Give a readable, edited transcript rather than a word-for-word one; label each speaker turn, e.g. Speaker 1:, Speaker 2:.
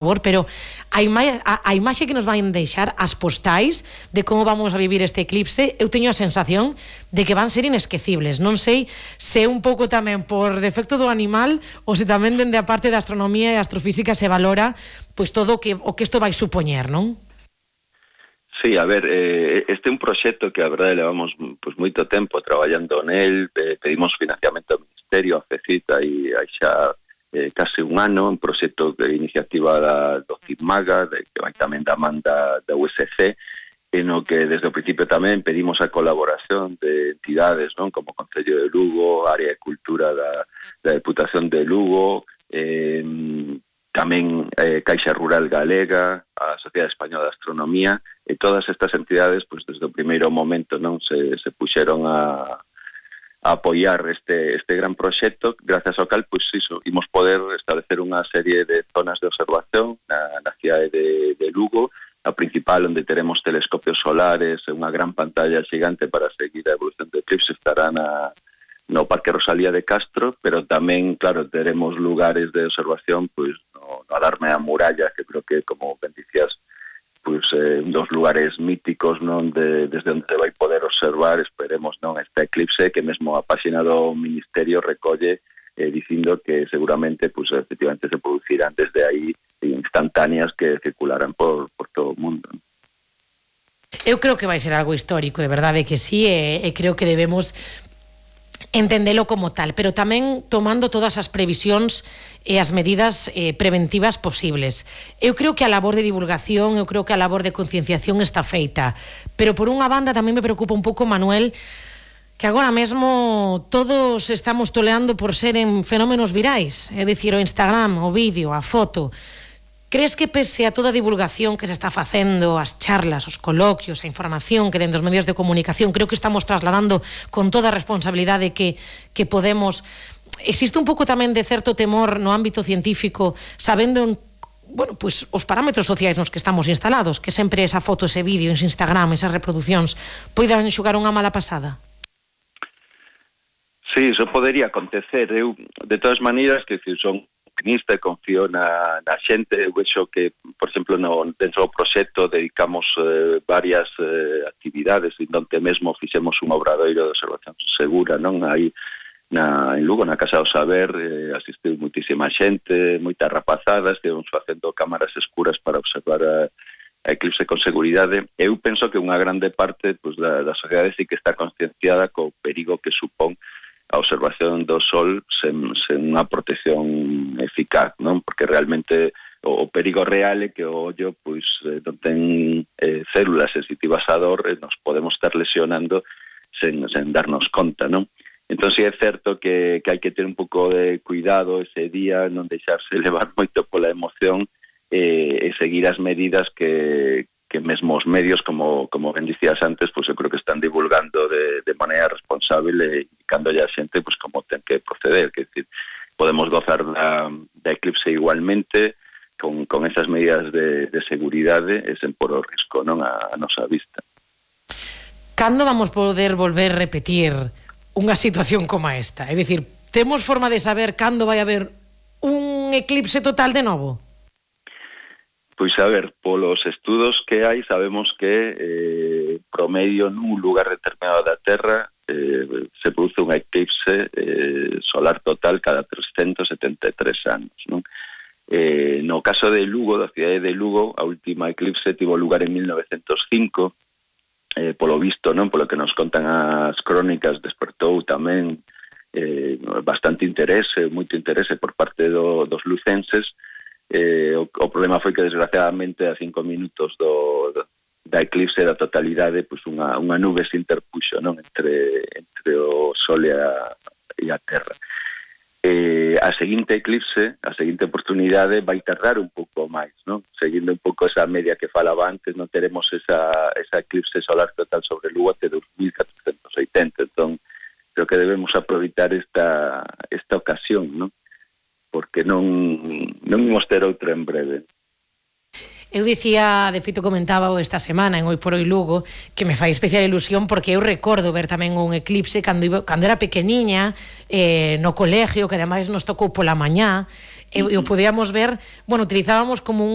Speaker 1: pero a imaxe que nos van deixar as postais de como vamos a vivir este eclipse, eu teño a sensación de que van ser inesquecibles. Non sei se un pouco tamén por defecto do animal ou se tamén dende a parte da astronomía e astrofísica se valora pois todo o que isto vai supoñer, non?
Speaker 2: Sí, a ver, este é un proxecto que a verdade levamos pois moito tempo traballando nel, pedimos financiamento ao Ministerio, a FECIT, aí xa case un ano, un proxecto de iniciativa do CIMAGA, que vai tamén da man da USC, no que desde o principio tamén pedimos a colaboración de entidades, non, como Concello de Lugo, Área de Cultura da Deputación de Lugo, tamén Caixa Rural Galega, a Sociedade Española de Astronomía, e todas estas entidades, pois desde o primeiro momento, non, se puxeron a apoiar este gran proxecto, gracias ao cal, pois iso, imos poder establecer unha serie de zonas de observación na cidade de Lugo, a principal onde teremos telescopios solares, unha gran pantalla xigante para seguir a evolución do eclipse, estará no Parque Rosalía de Castro, pero tamén, claro, teremos lugares de observación, pois no Alarme da Muralla, que creo que, como ben dicías, pois un dos lugares míticos, non, desde onde vai poder observar, esperemos, non, este eclipse, que mesmo a páxina do Ministerio recolle dicindo que seguramente, pois efectivamente se producirán desde aí instantáneas que circularán por todo o mundo.
Speaker 1: Eu creo que vai ser algo histórico, de verdade que sí, e creo que debemos entendelo como tal, pero tamén tomando todas as previsións e as medidas preventivas posibles. Eu creo que a labor de divulgación, eu creo que a labor de concienciación está feita, pero por unha banda tamén me preocupa un pouco, Manuel, que agora mesmo todos estamos toleando por ser en fenómenos virais, é dicir, o Instagram, o vídeo, a foto. Crees que pese a toda a divulgación que se está facendo, as charlas, os coloquios, a información que dentro dos medios de comunicación, creo que estamos trasladando con toda a responsabilidade que podemos, existe un pouco tamén de certo temor no ámbito científico, sabendo pues, os parámetros sociais nos que estamos instalados, que sempre esa foto, ese vídeo, ese Instagram, esas reproduccións, poidan xogar unha mala pasada?
Speaker 2: Sí, iso podería acontecer. Eu, de todas maneiras, que son optimista e confío na xente. Eu vexo que, por exemplo, dentro do proxecto dedicamos varias actividades, onde mesmo fixemos un obradoiro de observación segura, non? Aí en Lugo, na Casa do Saber, asistiu muitísima xente, moitas rapazadas, estivemos facendo cámaras escuras para observar a eclipse con seguridade. Eu penso que unha grande parte pues, da sociedade sí que está concienciada co perigo que supón a observación do Sol sen unha protección eficaz, non? Porque realmente o perigo real é que o ollo pois non ten células sensitivas a dor e nos podemos estar lesionando sen darnos conta, non? Entón, sí é certo que hai que ter un pouco de cuidado ese día, non deixarse levar moito pola emoción e seguir as medidas que mesmo os medios, como ben dicías antes, pues eu creo que están divulgando de maneira responsable e indicándolle a xente pues, como ten que proceder. Que decir, podemos gozar da eclipse igualmente con esas medidas de seguridade e sen por o risco non a nosa vista.
Speaker 1: Cando vamos poder volver a repetir unha situación como esta? É dicir, temos forma de saber cando vai haber un eclipse total de novo?
Speaker 2: Pois a ver, polos estudos que hai sabemos que promedio nun lugar determinado da Terra se produce un eclipse solar total cada 373 anos, non? No caso de Lugo, da cidade de Lugo, a última eclipse tivo lugar en 1905, polo visto, non? Polo que nos contan as crónicas, despertou tamén bastante interese, moito interese por parte dos lucenses. O problema foi que desgraciadamente a 5 minutos da eclipse da totalidade pois unha nube se interpuxo non entre o Sol e a Terra. A seguinte eclipse, a seguinte oportunidade vai tardar un pouco máis, non? Seguindo un pouco esa media que falaba antes, non teremos esa eclipse solar total sobre Lugo até 2480, entón creo que debemos aproveitar esta ocasión, non? Porque non imos ter outra en breve.
Speaker 1: Eu dicía, de feito comentaba esta semana en Hoy por Hoy Lugo, que me fai especial ilusión porque eu recordo ver tamén un eclipse cando era pequeniña no colegio, que ademais nos tocou pola mañá, e o podíamos ver, bueno, utilizábamos como